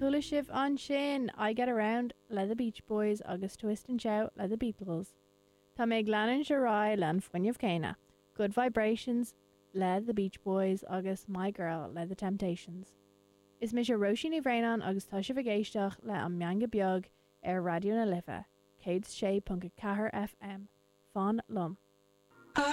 Chuala sibh ansin I Get Around le The Beach Boys agus Twist and Shout le The Beatles. Tá mé ag leanúint ar aghaidh le an fuinneamh céanna, Good Vibrations le The Beach Boys agus My Girl le The Temptations. Is mise Róisín Ní Bhraonáin agus tá sibh ag éisteacht le An Meangadh Beag ar Raidió na Life, 106.4 FM. Fan liom.